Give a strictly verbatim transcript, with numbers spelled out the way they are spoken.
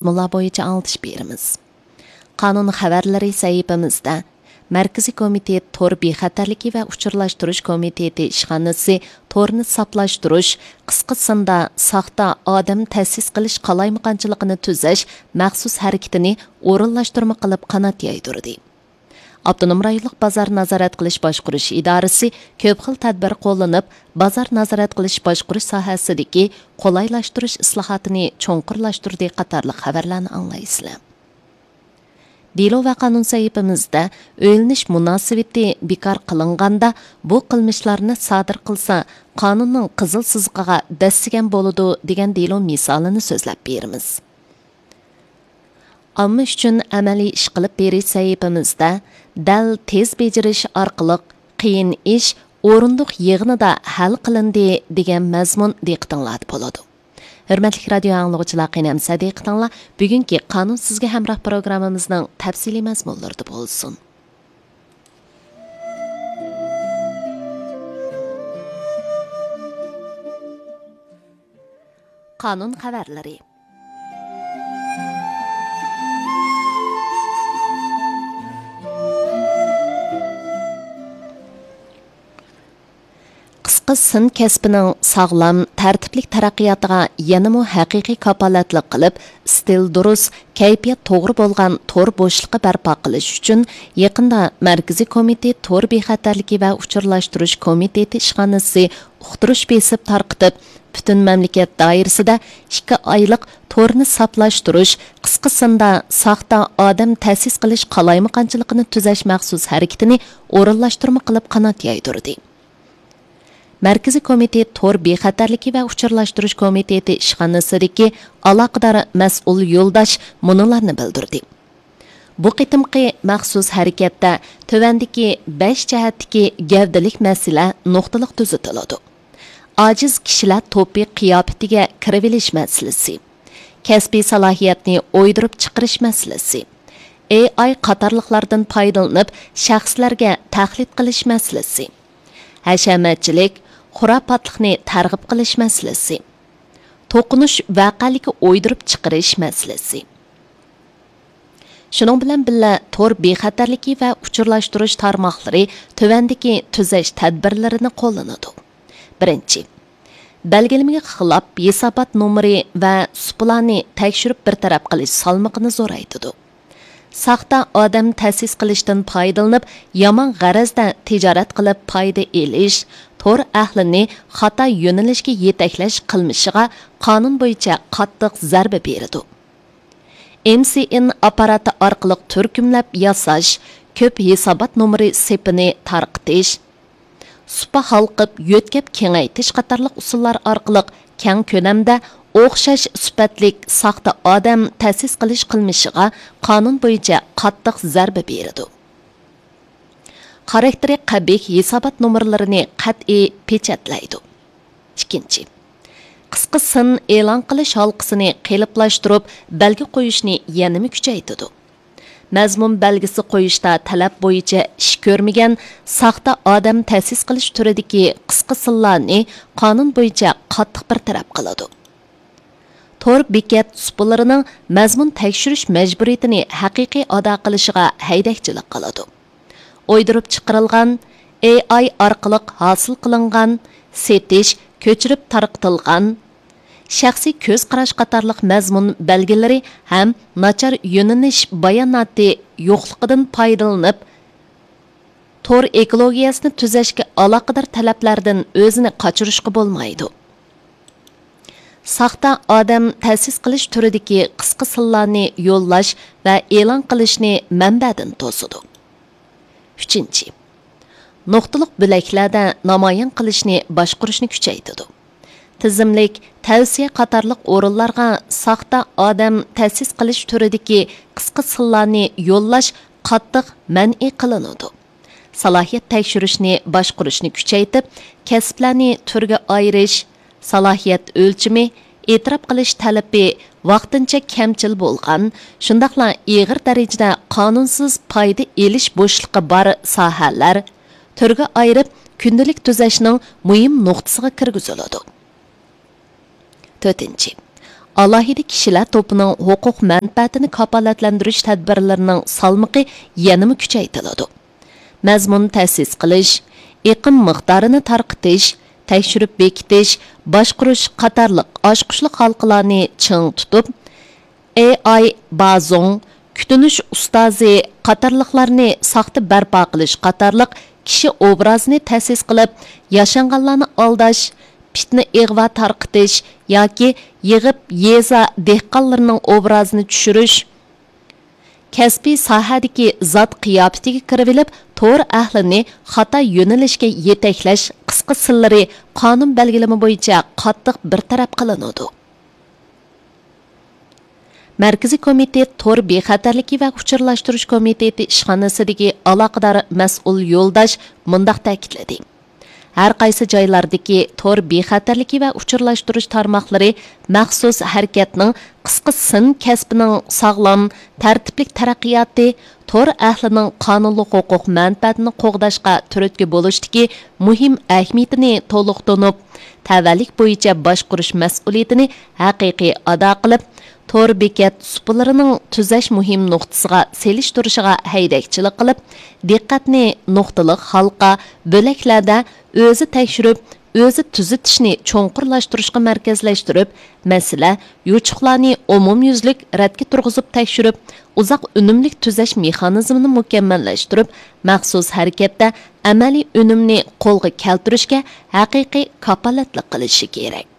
مەزمۇنلار بويىچە ئاڭلىتىش بېرىمىز. قانۇن خەۋەرلىرى سەھىپىمىزدە، مەركىزىي كومىتېت تور بىخەتەرلىكى ۋە ئۇچۇرلاشتۇرۇش كومىتېتى ئىشخانىسى تورنى ساپلاشتۇرۇش، قىسقا سىندا ساختا ئادەم تەسىس قىلىش قالايمىقانچىلىقىنى تۈزەش مەخسۇس ھەرىكىتىنى ئورۇنلاشتۇرما قىلىپ قانات يايدۇردى. ئاپتونوم رايونلۇق بازار نازارەت قىلىش باشقۇرۇش ئىدارىسى كۆپ خىل تەدبىر قوللىنىپ، بازار نازارەت قىلىش باشقۇرۇش ساھەسىدىكى قولايلاشتۇرۇش ئىسلاھاتىنى چوڭقۇرلاشتۇردى قاتارلىق خەۋەرلەرنى ئاڭلايسىلەر. دېلو ۋە قانۇن سەھىپىمىزدە ئۆيلىنىش مۇناسىۋىتى بىكار قىلىنغاندا، بۇ قىلمىشلارنى سادىر قىلسا، قانۇننىڭ قىزىل سىزىقىغا دەسسىگەن بولىدۇ، دېگەن دېلو مىسالىنى سۆزلەپ بېرىمىز. ئامما ئۈچۈن ئەمەلىي ئىش قىلىپ بېرىش سەھىپىمىزدە، دەل تېز بېجىرىش ئارقىلىق قىيىن ئىش ئورۇندۇق يىغىنىدا ھەل قىلىندى، دېگەن مەزمۇن دىققىتىڭلاردا بولىدۇ. ھۆرمەتلىك رادىيو ئاڭلىغۇچىلار، قېنى ئەمىسە دىققىتىڭلار بۈگۈنكى قانۇن سىزگە ھەمراھ پروگراممىمىزنىڭ تەپسىلىي مەزمۇنلىرىدا بولسۇن. قانۇن خەۋەرلىرى. قىسقا سىن كەسپىنىڭ ساغلام، تەرتىپلىك تەرەققىياتىغا يەنىمۇ ھەقىقىي كاپالەتلىك قىلىپ، ئىستىل دۇرۇس، كەيپىيات توغرا بولغان تور بوشلۇقى بەرپا قىلىش ئۈچۈن، يېقىندا مەركىزىي كومىتېت تور بىخەتەرلىكى ۋە ئۇچۇرلاشتۇرۇش كومىتېتى ئىشخانىسى ئۇقتۇرۇش بېسىپ تارقىتىپ، پۈتۈن مەملىكەت دائىرىسىدە ئىككى ئايلىق تورنى ساپلاشتۇرۇش، قىسقا سىندا ساختا ئادەم تەسىس قىلىش قالايمىقانچىلىقىنى تۈزەش مەخسۇس ھەرىكىتىنى ئورۇنلاشتۇرما قىلىپ قانات يايدۇردى. مەركىزىي كومىتېت تور بىخەتەرلىكى ۋە ئۇچۇرلاشتۇرۇش كومىتېتى ئىشخانىسىدىكى ئالاقىدار مەسئۇل يولداش مۇنۇلارنى بىلدۈردى. بۇ قېتىمقى مەخسۇس ھەرىكەتتە تۆۋەندىكى بەش جەھەتتىكى گەۋدىلىك مەسىلە نۇقتىلىق تۈزىتىلىدۇ. ئاجىز كىشىلەر توپى قىياپىتىگە كىرىۋېلىش مەسىلىسى، كەسپىي سالاھىيەتنى ئويدۇرۇپ چىقىرىش مەسىلىسى، ئېي ئاي قاتارلىقلاردىن پايدىلىنىپ شەخسلەرگە تەقلىد قىلىش مەسىلىسى، ھەشەمەتچىلىك، خۇراپاتلىقنى تەرغىب قىلىش مەسىلىسى، توقۇنۇش ۋەقەلىكى ئويدۇرۇپ چىقىرىش مەسىلىسى. شۇنىڭ بىلەن بىللە، تور بىخەتەرلىكى ۋە ئۇچۇرلاشتۇرۇش تارماقلىرى تۆۋەندىكى تۈزەش تەدبىرلىرىنى قوللىنىدۇ. بىرىنچى، بەلگىلىمىگە خىلاپ ھېسابات نومۇرى ۋە سۇپىلارنى تەكشۈرۈپ بىر تەرەپ قىلىش سالمىقىنى زورايتىدۇ. ساختا ئادەم تەسىس قىلىشتىن پايدىلىنىپ، يامان غەرەزدە تىجارەت قىلىپ پايدا ئېلىش، تور ئەھلىنى خاتا يۆنىلىشكە يېتەكلەش قىلمىشىغا قانۇن بويىچە قاتتىق زەربە بېرىدۇ. ئېم سى ئېن ئاپپاراتى ئارقىلىق تۈركۈملەپ ياساش، كۆپ ھېسابات نومۇرى سېپىنى تارقىتىش، سۇپا ھالقىپ يۆتكەپ كېڭەيتىش قاتارلىق ئۇسۇللار ئارقىلىق كەڭ كۆلەمدە ئوخشاش سۈپەتلىك ساختا ئادەم تەسىس قىلىش قىلمىشىغا قانۇن بويىچە قاتتىق زەربە بېرىدۇ. خاراكتېرى قەبىھ ھېسابات نومۇرلىرىنى قەتئىي پېچەتلەيدۇ. ئىككىنچى، قىسقا سىن ئېلان قىلىش ھالقىسىنى قېلىپلاشتۇرۇپ بەلگە قويۇشنى يەنىمۇ كۈچەيتىدۇ. مەزمۇن بەلگىسى قويۇشتا تەلەپ بويىچە ئىش كۆرمىگەن ساختا ئادەم تەسىس قىلىش تۈرىدىكى قىسقا سىنلارنى قانۇن بويىچە قاتتىق بىر تەرەپ قىلىدۇ. تور بېكەت سۇپىلىرىنىڭ مەزمۇن تەكشۈرۈش مەجبۇرىيىتىنى ھەقىقىي ئادا قىلىشىغا ھەيدەكچىلىك قىلىدۇ. ئويدۇرۇپ چىقىرىلغان، ئېي ئاي ئارقىلىق ھاسىل قىلىنغان، سېتىش، كۆچۈرۈپ تارقىتىلغان، شەخسىي كۆز قاراش قاتارلىق مەزمۇن بەلگىلىرى ھەم ناچار يۆنىلىش باياناتى يوقلۇقىدىن پايدىلىنىپ، تور ئېكولوگىيەسىنى تۈزەشكە ئالاقىدار تەلەپلەردىن ئۆزىنى قاچۇرۇشقا بولمايدۇ. ساختا ئادەم تەسىس قىلىش تۈرىدىكى قىسقا سىنلارنى يوللاش ۋە ئېلان قىلىشنى مەنبەدىن توسىدۇ. ئۈچىنچى، نۇقتىلىق بۆلەكلەردە نامايان قىلىشنى باشقۇرۇشنى كۈچەيتىدۇ. تىزىملىك، تەۋسىيە قاتارلىق ئورۇنلارغا ساختا ئادەم تەسىس قىلىش تۈرىدىكى قىسقا سىنلارنى يوللاش قاتتىق مەنئى قىلىنىدۇ. سالاھىيەت تەكشۈرۈشنى باشقۇرۇشنى كۈچەيتىپ، كەسىپلەرنى تۈرگە ئايرىش، سالاھىيەت ئۆلچىمى، ئېتىراپ قىلىش تەلىپى ۋاقتىنچە كەمچىل بولغان، شۇنداقلا ئېغىر دەرىجىدە قانۇنسىز پايدا ئېلىش بوشلۇقى بار ساھەلەر تۈرگە ئايرىپ، كۈندىلىك تۈزەشنىڭ مۇھىم نۇقتىسىغا كىرگۈزۈلىدۇ. تۆتىنچى، ئالاھىدە كىشىلەر توپىنىڭ ھوقۇق مەنپەئەتىنى كاپالەتلەندۈرۈش تەدبىرلىرىنىڭ سالمىقى يەنىمۇ كۈچەيتىلىدۇ. مەزمۇن تەسىس قىلىش، ئېقىم مىقدارىنى تارقىتىش، تەكشۈرۈپ بېكىتىش، باشقۇرۇش قاتارلىق ئاچقۇچلۇق ھالقىلارنى چىڭ تۇتۇپ، ئېي ئاي بازوڭ، كۈتۈنۈش ئۇستازى قاتارلىقلارنى ساختا بەرپا قىلىش قاتارلىق كىشى ئوبرازىنى تەسىس قىلىپ، ياشانغانلارنى ئالداش، پىتنە ئىغۋا تارقىتىش ياكى يىغىپ يېزا دېھقانلىرىنىڭ ئوبرازىنى چۈشۈرۈش، كەسپىي ساھەدىكى زات قىياپىتىگە كىرىۋېلىپ، تور ئەھلىنى خاتا يۆنىلىشكە يېتەكلەش قىسقا سىللىرى قانۇن بەلگىلىمە بويىچە قاتتىق بىر تەرەپ قىلىنىدۇ. مەركىزىي كومىتېت تور بىخەتەرلىكى ۋە ئۇچۇرلاشتۇرۇش كومىتېتى ئىشخانىسىدىكى ئالاقىدار مەسئۇل يولداش مۇنداق تەكىتلىدى: ھەر قايسى جايلاردىكى تور بىخەتەرلىكى ۋە ئۇچۇرلاشتۇرۇش تارماقلىرى مەخسۇس ھەرىكەتنىڭ قىسقا سىن كەسپىنىڭ ساغلام، تەرتىپلىك تەرەققىياتى، تور ئەھلىنىڭ قانۇنلۇق ھوقۇق مەنپەئەتىنى قوغداشقا تۈرتكە بولۇشتىكى مۇھىم ئەھمىيىتىنى تولۇق تونۇپ، تەۋەلىك بويىچە باشقۇرۇش مەسئۇلىيىتىنى ھەقىقىي ئادا قىلىپ، تور بېكەت سۇپىلىرىنىڭ تۈزەش مۇھىم نۇقتىسىغا سېلىشتۇرۇشىغا ھەيدەكچىلىك قىلىپ، دىققەتنى نۇقتىلىق ھالقا، بۆلەكلەردە ئۆزى تەكشۈرۈپ، ئۆزى تۈزىتىشنى چوڭقۇرلاشتۇرۇشقا مەركەزلەشتۈرۈپ، مەسىلە، يوچۇقلارنى ئومۇميۈزلۈك رەتكە تۇرغۇزۇپ تەكشۈرۈپ، ئۇزاق ئۈنۈملۈك تۈزەش مېخانىزمىنى مۇكەممەللەشتۈرۈپ، مەخسۇس ھەرىكەتتە ئەمەلىي ئۈنۈمنى قولغا كەلتۈرۈشكە ھەقىقىي كاپالەتلىك قىلىشى كېرەك.